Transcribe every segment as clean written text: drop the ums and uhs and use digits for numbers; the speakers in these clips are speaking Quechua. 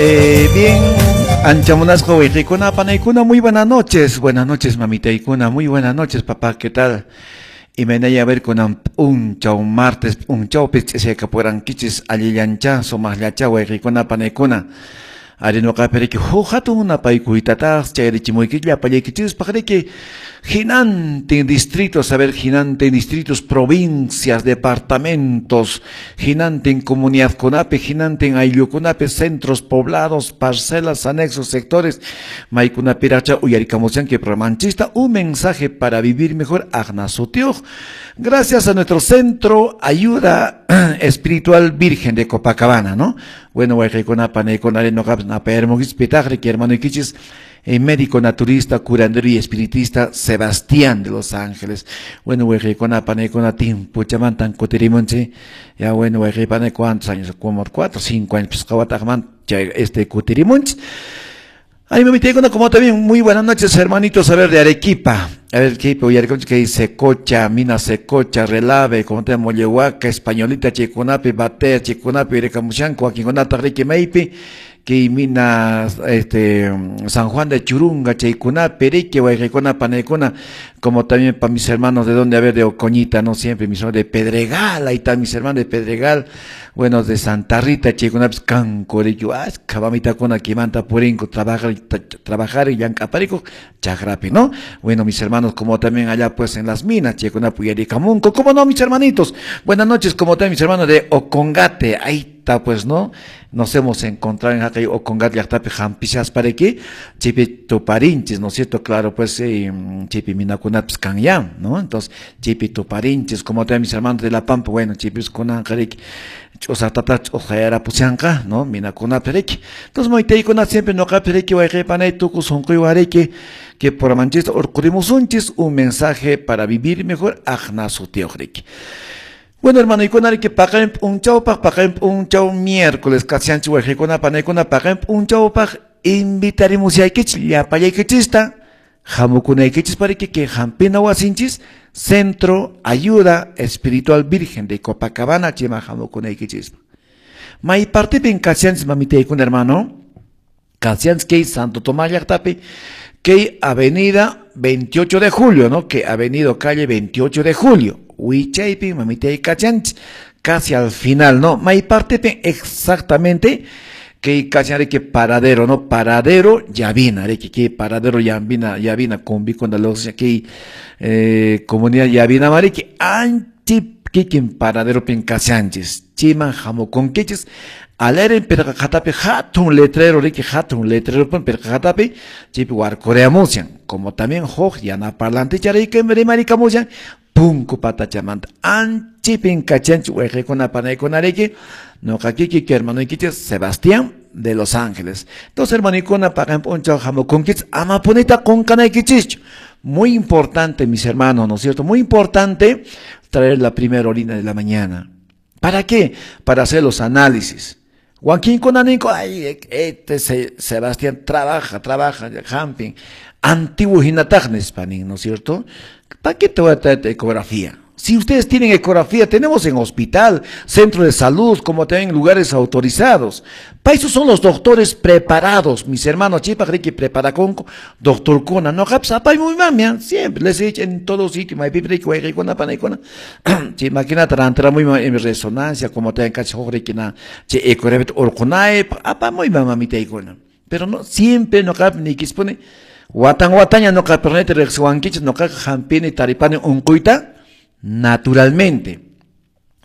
Bien, anchamunasqa wayqikuna, panaykuna, muy buenas noches. Buenas noches, mamitaykuna, muy buenas noches, papá, ¿qué tal? Imaynaya a ver kunan p'unchaw martes p'unchawpi ch'isiyakapurankichis allillancha sumaqllacha wayqikuna panaykuna. Ari noqapi riki huk hatun napaykuytataq chayarichimuyki llapallaykichispaq riki hinantin distritos, a ver, hinantin distritos, provincias, departamentos, hinantin comunidadkunapi, hinantin ayllukunapi, centros poblados, parcelas, anexos, sectores, maykunapiracha uyarikamushanki programanchista, un mensaje para vivir mejor, aqna sutiyuq. Gracias a nuestro centro Ayuda Espiritual Virgen de Copacabana, ¿no? Bueno, wayqikuna, panaykuna, noqapas napayarmunkichis pitaqri, hermanoykichis, médico naturista, curandero y espiritista Sebastián de Los Ángeles. Bueno, wayqikuna, panaykuna, timpuchamantan kutirimunchik. Ya, bueno, wayqipana, ¿cuántos años? Como 4, 5 años, pues, qawataqman chay kutirimunchik. Ay, mamitaykuna, como también, muy buenas noches, hermanitos, a ver, de Arequipa. A ver, ¿qué que dice? Cocha, Mina Secocha, Relave, como te Mollehuaca, Españolita, Chicunapi, Batea, Chicunapi, Irecamushanco, Aquingonata, Rique Meipi, que mina San Juan de Churunga, Chaycunapi, Rique, Guayrecona, Panecona, como también para mis hermanos de donde, a ver, de Ocoñita, no siempre, mis hermanos de Pedregal, ahí están mis hermanos de Pedregal, bueno, de Santa Rita, Chaycunapi, Canco, Rique, Cabamita, Quimanta, Purinco, trabajar, trabajar y Yancaparico, Chagrapi, ¿no? Bueno, mis hermanos, como también allá pues en las minas, Chaycunapi, Yaricamunco, ¿cómo no, mis hermanitos? Buenas noches, como también mis hermanos de Ocongate, ahí está pues, ¿no? Nos hemos encontrado en Jacay Ocongate, llaqtapi hampishaspariki, chaypi tuparinchis, ¿no es cierto? Claro, pues, chaypi minakunapis kanyan, ¿no? Entonces, chaypi tuparinchis, como también mis hermanos de La Pampa, bueno, chaypis kunanqa riki, ch'usaqtata ch'uqayarapushanqa, ¿no? Minakunapi riki. Entonces, maytaykuna siempre noqapi riki, wayqipanay tukuy sunquywan riki, que por manchista urqurimusunchis un mensaje para vivir mejor aqna sutiyuq riki. Bueno, hermano, y que paqarin p'unchawpaq, paqarin p'unchaw miércoles, kashanchik wayqikuna, panaykuna, paqarin p'unchawpaq invitarimushaykichik llapallaykichista hamukunaykichis pariki que hampina wasinchis Centro Ayuda Espiritual Virgen de Copacabana chayman hamukunaykichis. May partipin kashanchis mamitaykuna hermano, kashanchis kay Santo Tomás llaqtapi, kay Avenida 28 de Julio, ¿no? Que Avenida calle 28 de Julio. Wichaypi mamitay kachanchis, casi al final, ¿no? May partipin exactamente que kashan que paradero, ¿no? Paradero Llavina, que paradero Llavina, Llavina, combi cuando los que comunidad Llavina mariki, anchi kikin paradero pin kashanchis, chayman hamukunkichis, aleren pirqa qhatapi hatun letrero riki hatun letrero pin pirqa qhatapi chaypi warkureamushan, como también huk yana parlantecha riki rimarikamushan, punku patachamanta anchipin kachanchik wayqikuna panaykuna riki, noqa kiki hermanoykichis Sebastián de Los Ángeles. Entonces, hermanikuna, paqarin p'unchaw hamukunkichis, amapunita qunqanaykichischu. Muy importante, mis hermanos, ¿no es cierto? Muy importante traer la primera orina de la mañana. ¿Para qué? Para hacer los análisis. Wakinkuna ninku, ay, este Sebastián trabaja, trabaja, hampin, antiguo hinataq nispa nin, ¿no es cierto? ¿Para qué te voy a traer ecografía? Si ustedes tienen ecografía, tenemos en hospital, centro de salud, como también lugares autorizados. Para eso son los doctores preparados, mis hermanos, chaypaq riki preparakunku, doctorkuna, no, muy mami, siempre les he dicho en todos sitios, maypi riki, wayqikuna, panaykuna, chay maquinata rantiramuy en resonancia, como también cachi riki na, chay ecografía urqunaypaq, apamuy mamitaykuna. Pero no, siempre no niykispuni, watan wataña noqa pernete riqsiwankichis, noqaqa hampini taripani unquyta, naturalmente.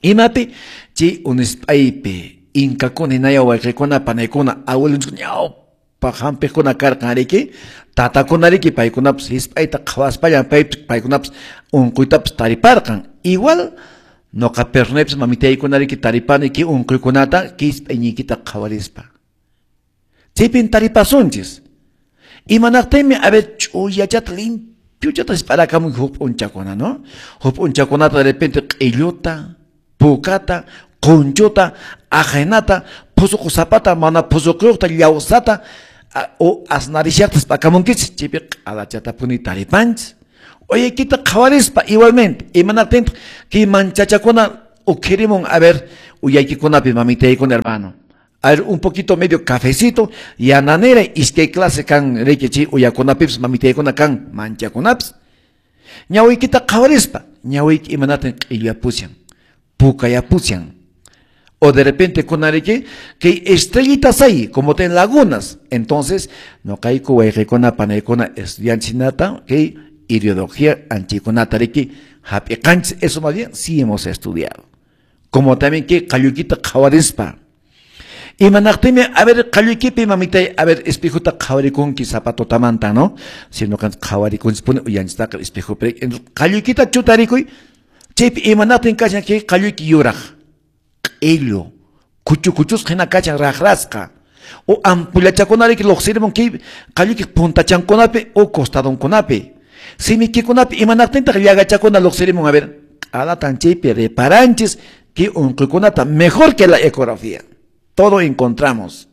Imapi chay unisp'aypi inkakuna hinaya wayqikuna panaykuna abuelonchik ñawpaq hampiqkuna karqan riki, tatakuna riki paykunapas hisp'ayta qhawaspallan paykunapas unquytapas tariparqan. Igual noqa pernepis mamitaykuna riki taripani kay unquykunata kay hisp'ayniykita qhawarispa. Chaypin taripasunchis. Imanaqtinmi a ver ch'uyachata limpiochata hisp'arakamun huk p'unchakuna, ¿no? Huk p'unchakunata de repente q'illuta, pukata, qunchuta, ajenata, phusuqu sapata, mana phusuquyuqta, llawsata, o asnarishaqta hisp'akamunkichis, chaypi q'alachatapuni taripanchis. Uyaykita qhawarispa igualmente, imanaqtintaq kay manchachakuna ukhirimun, a ver, uyaykikunapi mamitaykuna hermano. A ver, un poquito medio cafecito, yananera, iskay clase kan riki chay uyakunapipis mamitaykuna kan manchakunapis. Ñawiykita qhawarispa, ñawiyki imanatan q'illuyapushan, pukayapushan. O de repente kunariki, que estrellitas hay, como ten lagunas. Entonces, noqayku wayqikuna panaykuna estudianchinata, que ideología anchikunata riki hap'iqanchis, eso más bien sí hemos estudiado. Como también que qalluykita qhawarispa. Imanaqtimi, a ver, qalluykipi mamitay, a ver, espejuta qhawarikunki zapatotamanta, ¿no? Si no qhawarikunchis uyanchistaqa espejupi. Qalluykita chutarikuy, chaypi imanaqtin kashan kay qalluyki yuraq, q'illu, kuchu kuchusqa hina kashan raqrasqa. O ampullachakunariki lluqsirimun kay qalluyki puntachankunapi o costadonkunapi. Simikikunapi imanaqtintaq llagachakuna lluqsirimun, a ver, q'alatan chaypi reparanchis que unquykunata mejor que la ecografía. Todo encontramos.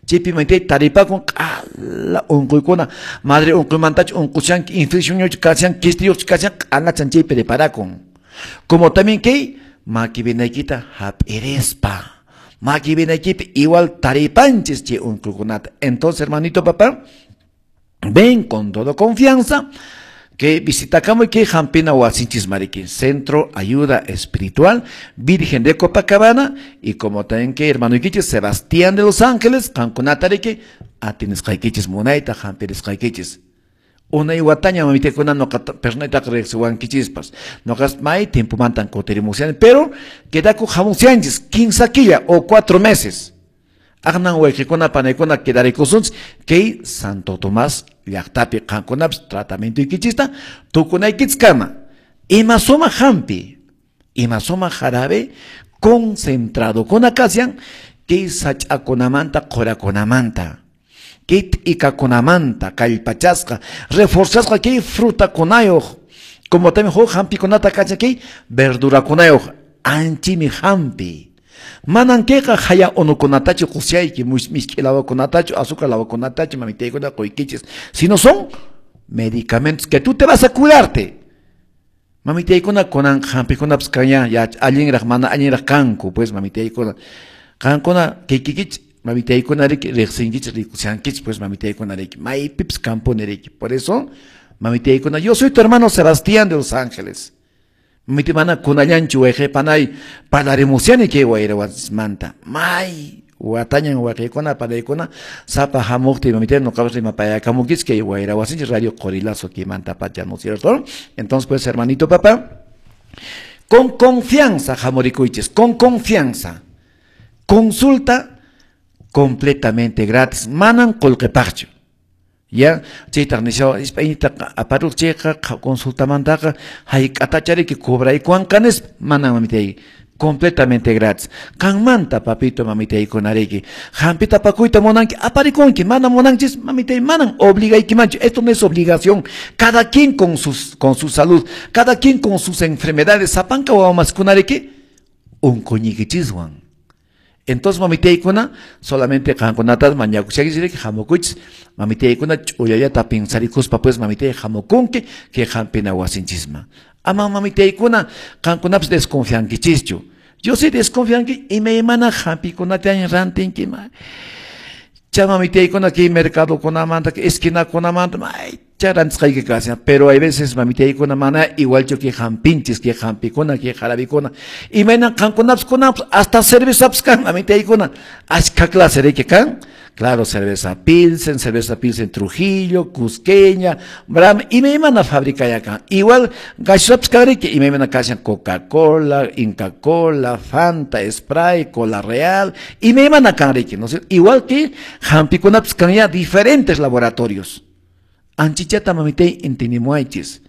Chaypi mamita taripakun q'ala unquykuna, madre unquymantachu unqushanki, infeccionyuqchu kashan, quistiyuqchu kashan, q'alachan chaypi reparakun. Como también kay maki vinaykita hap'irispa. Maki vinaykipi igual taripanchis chay unquykunata. Entonces, hermanito papá, ven con toda confianza que visitakamuy que hampina wasinchis mariki, Centro Ayuda Espiritual Virgen de Copacabana, y como también que hermano ikichis Sebastián de los Ángeles, qankunatariki atinisqaykichis munayta hampirisqaykichis. Unay wataña mamitakuna noqa personaytaqa riqsiwankichispas. Noqas may tiempomantan kutirimushan, pero quedaku hamushanchis 15 killa o 4 meses. Aqnan wayqikuna panaykuna quedarikusunchis kay Santo Tomás llaqtapi qankunapis tratamiento ikichista tukunaykichkama. Ima sumaq hampi, ima sumaq jarabe concentrado kuna kashan kay sach'akunamanta qhurakunamanta, kay t'ikakunamanta kallpachasqa reforzasqa kay frutakunayuq, como también huk hampikunata kashan kay verdurakunayuq, anchimi hampi. Manan kayqa haya unukunatachu qusyayki, misk'i lawakunatachu, azúcar lawakunatachu, mamitaykuna quykichis, sino son medicamentos que tú te vas a curarte. Mamitaykuna kunan hampikunapas kaña ya allinraq mana allinraq kanku, pues mamitaykuna. Qankuna kikikichik mamitaykuna riki riqsinkichik rikushankichik, pues mamitaykuna riki maypipas kampuni riki. Por eso, mamitaykuna, yo soy tu hermano Sebastián de Los Ángeles. Mamita mana kunallanchu wayqipanay parlarimusyani kay wayrawasmanta. May watañan wayqikuna panaykuna sapa hamuqti mamita noqapas rimapayakamunkichik kay wayrawasinchik Radio Qorilazo kimanta pacha, ¿no es cierto? Entonces, pues, hermanito papá, con confianza hamurikuychis, con confianza. Consulta completamente gratis. Manan qullqipaqchu. Ya, chaytaq nishawa ispaynita aparuq chayqa consultamantaqa hayk'atachariki cobraykuwanqa nispa, manan mamitay, completamente gratis. Qanmanta papito mamitaykunariki hampita apakuyta munanki aparikunki, mana munanchis mamitay, manan obligaykimanchu. Esto no es obligación. Cada quien con su salud, cada quien con sus enfermedades, sapanka wawamaskunariki unquñikichiswan. Entonces, mamitaykuna, solamente qankunatas mañakushakichisriki hamukuychis, mamitaykuna ch'ullallata pinsarikuspa, pues mamitay hamukunki kay hampina wasinchisman. Ama mamitaykuna qankunapas desconfiankichischu. Yo sí desconfianki imaymana hampikunata rantinki. Cha mamitaykuna kay mercadokunamanta, kay esquinakunamanta, may cha rantisqayki kashan. Pero hay veces mamitaykuna mana igualchu kay hampinchis, kay hampikuna, kay jarabikuna. Imaynan qankunapas kunapas hasta cervezapas kan mamitaykuna. Ashka clase riki kan. Claro, cerveza Pilsen Trujillo, Cusqueña, Brahma, imaymana fábrica ya kan. Igual gaseosapas kan riki, imaymana kashan Coca-Cola, Inca Cola, Fanta, Sprite, Cola Real, imaymana kan riki, ¿no es cierto? Igual que hampikunapas kan ya diferentes laboratorios. Anchichata mamitay entinimuaychis.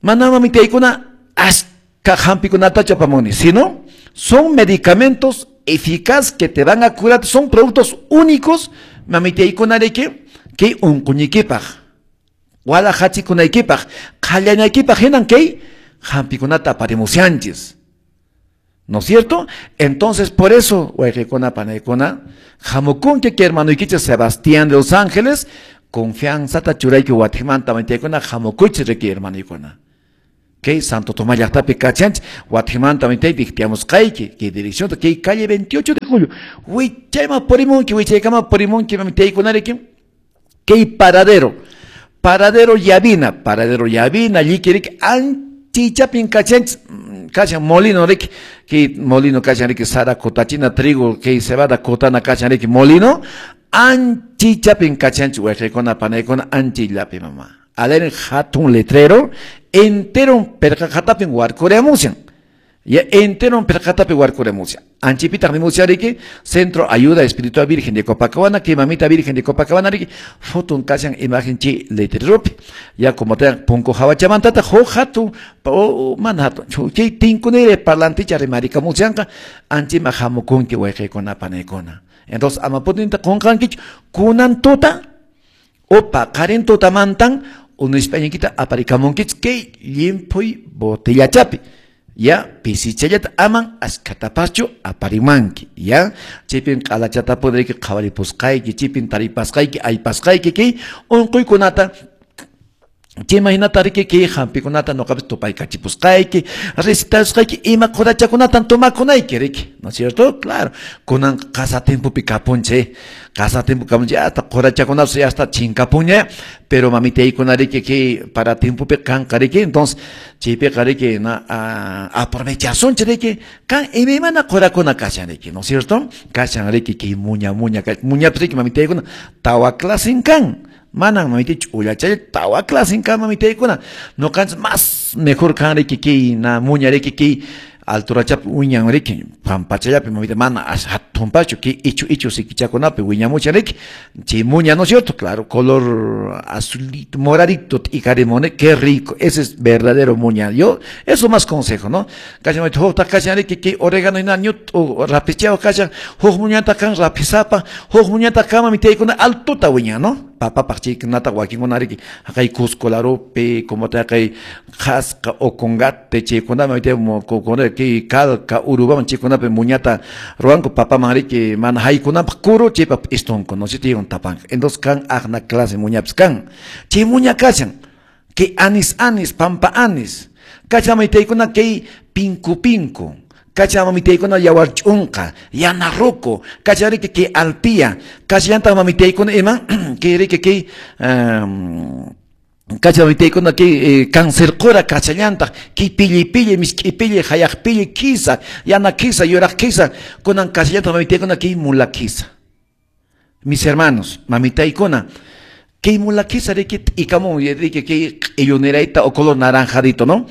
Mana mamitaykuna ashka hampikunatachu apamuni, sino son medicamentos eficaz que te van a curar, son productos únicos, mamitaykuna riki, kay unquñikipaq, wala hachikunaykipaq, qhallanaykipaq hinan kay hampikunata aparimushanchis. ¿No es cierto? Entonces, por eso, wayqikuna panaykuna, hamukunki kay hermanoykichik Sebastián de Los Ángeles, confianzata churayki watimanta mamitaykuna hamukuychis riki hermanoykuna. Kay Santo Tomás llaqtapi kachanchik, watimanta mitay dictiamusqayki, kay dirección, kay calle 28 de julio. Wichayman purimunki, wichaykama purimunki, mamitaykunariki, kay paradero, paradero Llavina, lliki anchichapin kachanchik, kachan molino riki, kay molino kachan riki, sara kutachina, trigo, kay cebada kutana kachan riki, molino, anchichapin kachanchik, wayqaykuna, panaykuna, anchillapi mama. Alen hatun letrero, entero perqaqatapin warkureamusian. Ya entero perqaqatapi warkureamusian. Anchipitaq nimusian riki, Centro Ayuda Espiritual Virgen de Copacabana, que mamita Virgen de Copacabana riki, fotun kashan imagen chi letreropi. Ya como te punko hawachamantata, ho hatun, o man hatun, chay tinkunire parlanticha rimarikamusianqa, anchima hamukunki wayqaykuna panaykuna. Entonces, amaputinta qunqankichu, kunan tuta, o paqarin tutamantan, unispañinkita aparikamunkich kay llimpuy botellachapi. Ya, pisichallata aman askatapaschu aparimanki. Ya, chipin q'alachata pudriki qhawaripusqayki, chipin taripasqayki, aypasqayki kay unquykunata. Chaymahinata riki kay hampikunata nuqapis tupaykachipusqayki, recetasqayki ima qurachakunatan tomakunayki riki, ¿no es cierto? Claro, kunan qasa tiempopi kapunchik, qasa tiempo kapunchik, hasta qurachakunapas ya hasta chinkapunña, pero mamitaykuna riki kay para tiempopi kanqa riki, entonces chaypiqa riki na aprovechasunchik riki, kan imaymana qurakuna kashan riki, ¿no es cierto? Kashan riki kay muña muña, muñapis riki mamitaykuna tawa clasen kan. Manan mamita ch'ullachalla tawa clasen kan mamitaykuna. Nuqanchis más mejor kan riki kay na muña riki kay alturachapi wiñan riki pampachallapi mamita mana hatunpachu kay ichu ichu sikichakunapi wiñamuchan riki chay muña, ¿no es cierto? Claro, color azulito, moradito t'ikarimuni, qué rico, ese es verdadero muña. Yo, eso más consejo, ¿no? Kashan mamita hukta kashan riki kay orégano hina ñut rapichao kashan, huk muñata kan rapisapa, huk muñata kan mamitaykuna altuta wiñan, ¿no? Papapaq chaykunata wakinkuna riki haqay Cusco larupi, como te haqay Qhasqa, Ocongate, chaykuna mamita kay Calca, Urubaman chaykunapi muñata ruwanku papaman riki mana haykunapaq kuru chaypa p'istunku, no sé, chaywan tapanqa. Entonces kan aqna clase muñapis kan. Chay muña kashan, kay anis anis, pampa anis. Kashan mamitaykuna kay pinku pinku. Kacha mamitaykuna yawar ch'unqa, yana ruku, kacha riki kay alpia, kachallantaq mamitaykuna ima, kay riki kay kacha mamitaykuna kay cáncer qura kachallantaq, kay pilli pilli, misk'i pilli, hayaq pilli, kisa, yana kisa, yuraq kisa, kunan kachallantaq mamitaykuna kay mula kisa. Mis hermanos, mamitaykuna, kay mula kisa riki t'ikamun, riki kay q'illunirayta o color naranjadito, ¿no?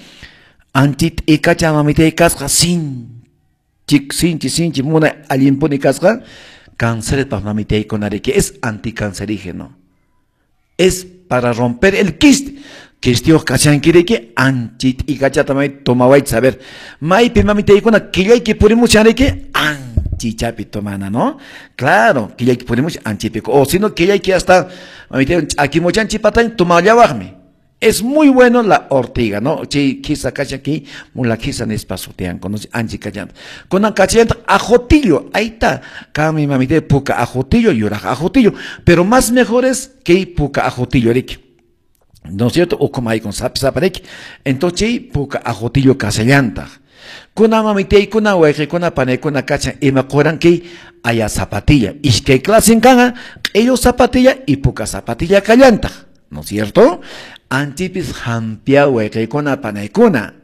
Anchit ikacha mamitay kasqa sinchi sinchi sinchi muna allinpuni kasqa cáncer pa mamitaykuna riki es anticancerígeno, es para romper el quiste. Quistiyuq kashanki riki anchit ikachata may tomawaychis, a ver, maypi mamitaykuna killayki purimushan riki anchichapi tomana, ¿no? Claro, killayki purimushan anchipi, o si no killayki hasta mamitay ch'akimuchan chipatañ tomallawaqmi. Es muy bueno la ortiga, ¿no? Chi kisa kacha ki mula kisa nispa sutianku, no anchi kachanta. Kunan kachanta ajotillo, ahí está. Kami mamite puka ajotillo, yuraq ajotillo, pero más mejor es que puka ajotillo riki. ¿No es cierto? O como hay con sap sap riki. Entonces chi puka ajotillo kasallanta. Kuna mamite kuna wayqi kuna panaykuna kachan ima quran kay aya zapatilla. Iskay clasen kanga, q'illu zapatilla y puka zapatilla kallantaq. ¿No es cierto? Anchipis hampia wayqaykuna panaykuna.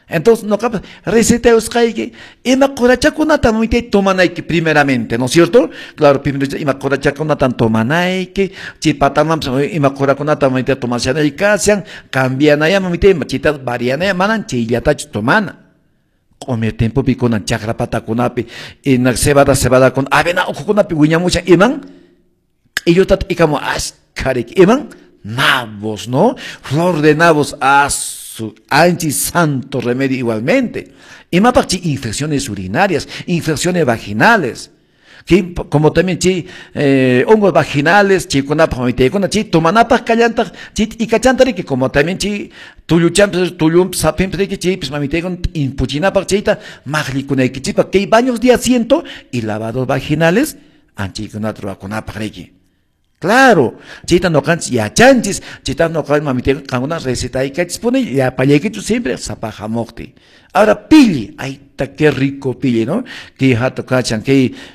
Entonces, no capas, receta usqayki, ima qurachakunata mamitay tomanayki primeramente, ¿no es cierto? Claro, primero ima qurachakunata tomanayki, chipatamanpas ima qurakunata mamitay tomashanayki kashan, cambianaya mamitay, chita varianaya, manan chayllatachu tomana. Q'umir tiempopi kunan chakra patakunapi, ina cebada cebada kun avena ukhukunapi wiñamushan iman, q'illuta t'ikamu ashkhariki, iman nabos, ¿no? Flor de nabos, asu, anchi santo remedio igualmente. Imapaq chi infecciones urinarias, infecciones vaginales, chi, como también chi hongos vaginales, chikunapaq mamitaykuna, chi tomanapaq kallantaq, chi t'ikachanta riki, como también chi tulluchanpis, tullunpis, sapinpis riki, chaypis mamitaykuna t'impuchinapaq chayta maqlikunaykichikpaq, kay baños de asiento y lavados vaginales, anchiykunata ruwakunapaq riki. Claro, chayta ñuqanchis yachanchis, chayta ñuqa, mamita, qankuna recetaykachispuni llapallaykichu siempre sapa hamuqti. Ahora pilli, ay, qué rico pilli, ¿no? Kay hatu kachan, kay